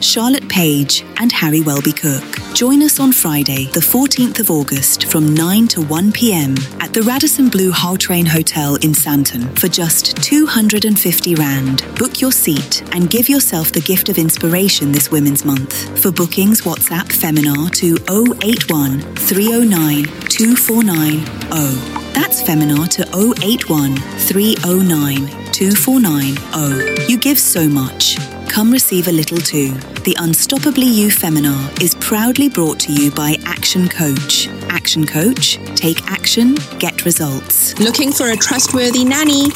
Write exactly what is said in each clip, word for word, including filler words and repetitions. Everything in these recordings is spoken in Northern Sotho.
Charlotte Page, and Harry Welby Cook. Join us on Friday, the fourteenth of August from nine to one p m at the Radisson Blu Gautrain Hotel in Sandton for just two hundred and fifty Rand. Book your seat and give yourself the gift of inspiration this Women's Month. For bookings, WhatsApp Feminar to oh eight one three oh nine two four nine zero. That's Feminar to oh eight one three oh nine two four nine zero. You give so much. Come receive a little too. The Unstoppably You Feminar is proudly brought to you by Action Coach. Action Coach, take action, get results. Looking for a trustworthy nanny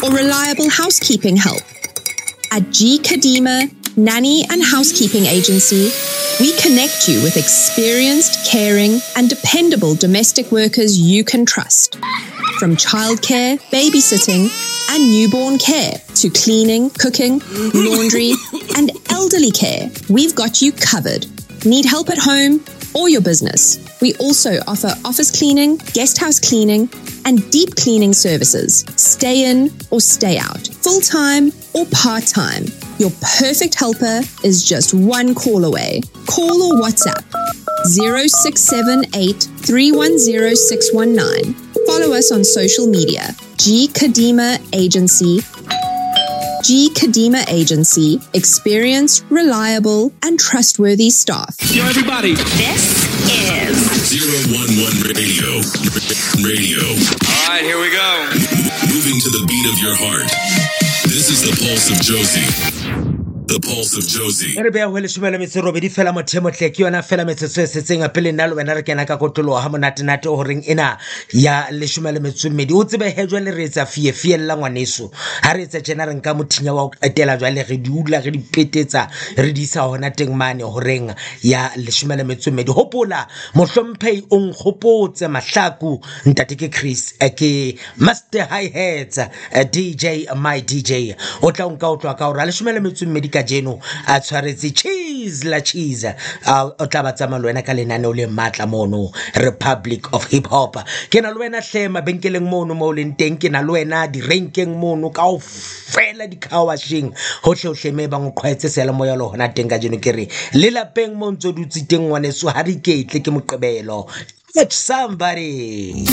or reliable housekeeping help? At G Kadima Nanny and Housekeeping Agency, we connect you with experienced, caring, and dependable domestic workers you can trust. From childcare, babysitting, and newborn care to cleaning, cooking, laundry, and elderly care, we've got you covered. Need help at home or your business? We also offer office cleaning, guest house cleaning, and deep cleaning services. Stay in or stay out, full time or part time. Your perfect helper is just one call away. Call or WhatsApp zero six seven eight three one zero six one nine. Follow us on social media. G Kadima Agency. G Kadima Agency. Experience, reliable, and trustworthy staff. Yo, everybody. This is zero one one Radio. Radio. All right, here we go. Moving to the beat of your heart. This is the Pulse of Jozi. The Pulse of Jozi. E re beya ho leshome le metso e robedi fela mothemotle, ke yona fela metsotso e setseng pele nna le wena re kena ka kotloloha ha monatenate horeng ena ya leshome le metso e mmedi. O tsebe he, jwale re etsa fie fiella ngwaneso. Ha re etsa tjena, re nka mothinya wa ho qetela, jwale re di ula, re di petetsa, re di isa hona teng mane horeng ya leshome le metso e mmedi. Hopola, mohlomphehi o nkgopotse Mahlaku, ntate ke Chris, eh, ke Master Hi Hats, eh, D J my D J o tla o nka o tloha ka hora leshome le metso e mmedi kajeno a tshwaretse cheese la cheese. A o tla ba tsamaya le wena ka lenaneo le matla mono, Republic of Hip Hop. Ke na le wena hle mabenkeleng mono mo o leng teng, ke na le wena direnkeng mono kaofela, di-car washing, hohle hohle me bang o qhwaetse seyalemoya le hona teng kajeno. Ke re le lapeng mo ntso dutse teng ngwaneso, ha re iketle, ke Moqebelo. Catch somebody.